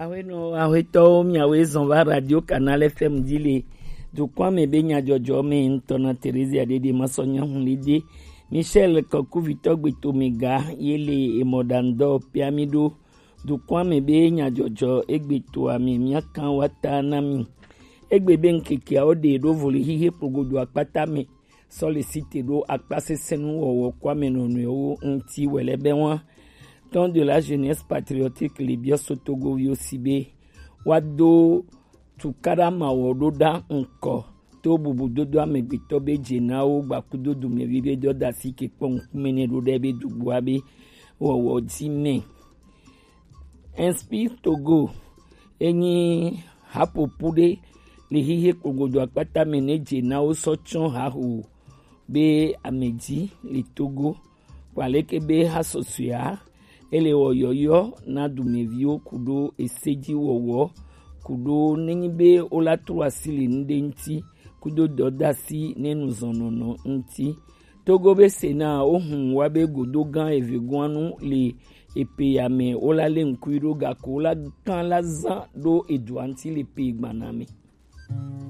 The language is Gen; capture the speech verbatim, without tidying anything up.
Ahuenɔ ahuetɔwo, miawoe zɔn va Radio Canal F M dzi le dukɔa me be nyadzɔdzɔ me. Ŋutɔ na Theresia Dede Masɔ Nyahun Lede, Michel Kɔkuvitɔ Gbeto Mega ye le emɔɖaŋdɔ pia mi ɖo dukɔa me be nyadzɔdzɔ egbetoa me miakan wa ta na mi. Egbe be ŋkekeawo ɖe ɖo voli hihe kplogodo akpata me sɔ le site ɖo akpa sesẽ nu wɔwɔ kɔa me nɔnɔewo ŋuti wɛlɛ be wa. Temps de la jeunesse patriotique le biɔ so Togoviwo si be wa do tukaɖa mawɔ ɖo ɖa ŋkɔ to bubu dodo amegbetɔ be dze na wo gbakudo dumevi be dɔdasi ke kpɔ ŋkume ne ɖo ɖe be dugboa be wɔwɔ dzi me. Inspire Togo enyi haƒoƒu ɖe le hihe kplogodo akpata me ne dze na wo sɔ tsɔ haho be amedzi le Togo kpaleke be hasɔsɔea ele wɔ yɔyɔ na dumeviwo kuɖo eseji wɔwɔ kuɖo nenyi be wola tro asi le nuɖe ŋuti kudo dɔdasi ne nuzɔnɔnɔ ŋuti. Togo be Sena wohun wa be godo gã evegoanu le epe ya me wola le ŋkui ɖo gako wola gã la zã ɖo edua ŋuti le pe gbana me.